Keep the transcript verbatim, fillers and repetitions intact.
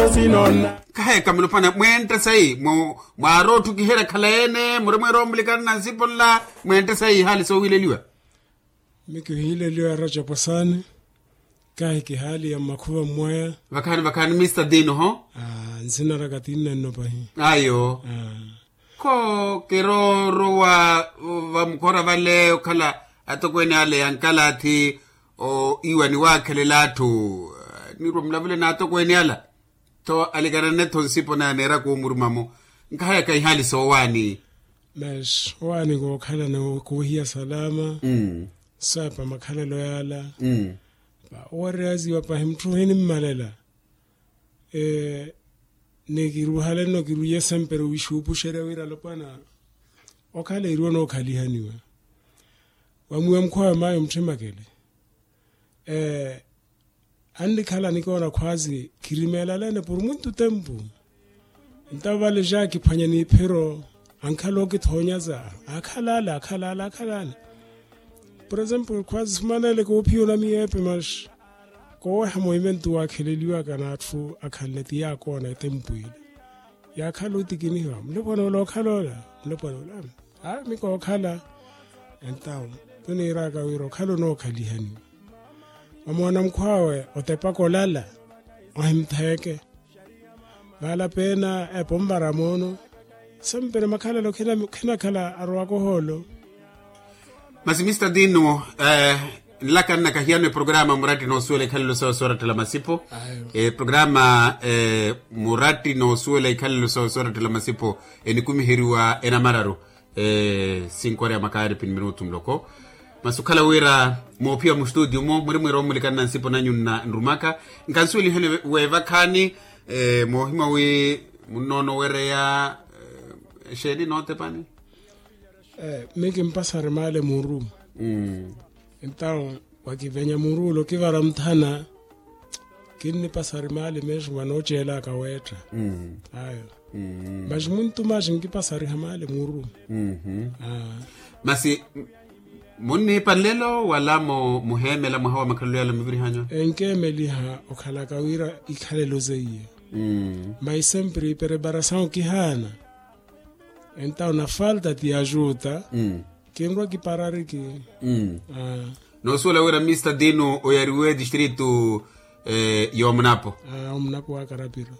Kaheeka mulopwana mwentte sayi mwaari otthukiherya khala ene murimweera omulikana na nsipo nla. Mwentte sayi ihaali soohileliwa. Mi kihiileliwa rajapo saani. Kahi kihaali ya mmakhuva mmwaya. Vakhaani vakhaani mista dino ho. Nsina raka tinnenno pahi. Ayo. Kho kiroorowa vamukhora vale okhala atokweene ale ya nkalathi. Iwa niwaakhelela atthu. Nirwa mulavule n'atokweene ala. Tho alikanane-tho nsipo naya neera kuumuruma-mo. Nkahayaka ihaali soowaani. Mas owaani kookhalana koohiya salama. Saapa makhalelo yaala. Owereyaziwa pahi mutthu ohinimmalela. Ni kiruhalenno kiruiye sempre wixuupuxerya wira alopwana. Okhala eri onookhaliha niwe. Wamwiwa mukhuwawe mayo mutthemakele. Annikhala nikoona khwaazi khirimeelaleene puru muntu tempu. Entawo vale ja kiphwanya n'iphiro. Ankhala okithoonyaza. Akhalala akhalala akhalala. Por example khwaazi sumanele koophiya onamiyeepe mas kooweha movimentu waakheleliwaka n'atthu akhanle ti yaakoona etempu ile. Yaakhala otikinihiwa mulopwana ola okhala ola. Mulopwana ola. Aa mi kookhala. Entawo tuniiraka wira okhala onookhaliha niwe. Wamoona mukhwawe otepaka olala. Ohimtheeke. Vaala peena epo nvara moono. Sempere makhalelo khinakhala arowaka ohoolo. Masi mista dino. Nlaka nnakahiyano eprograma muratti noosuwela ikhalelo sawe soorattela masipo. Eprograma muratti noosuwela ikhalelo sawe soorattela masipo. Enikumiheriwa enamararu. Sinkoreya makaari pini minutu muloko. Masi okhala wira moophiya mustutiyo-mo muri mwiira omulikana na nsipo nanyu nrumaka. Nkansuweliheni weevakhaani. Moohimwa wi munnoonowereya exeeni nootepani. Mi kimpasari maale muuru. Entawo wakivenya muuru ula okivara muthana. Kinnipasari maale meesu vanooceelaka weetta. Ayo. Mas muntu maasi nkipasariha maale muuru. Masi munniipa nlelo wala muheemela mwaha wa makhalelo yala muvirihanyu? Enkeemeliha okhalaka wira ikhalelo zeiye. Mas sempre ipereparasawu kihaana. Entawo na falta ti ajuta. Kinrwa kiparariki. Noosuwela wira mista dino oyariwe distrito. Yoomunapo. Omunapo waakarapiro.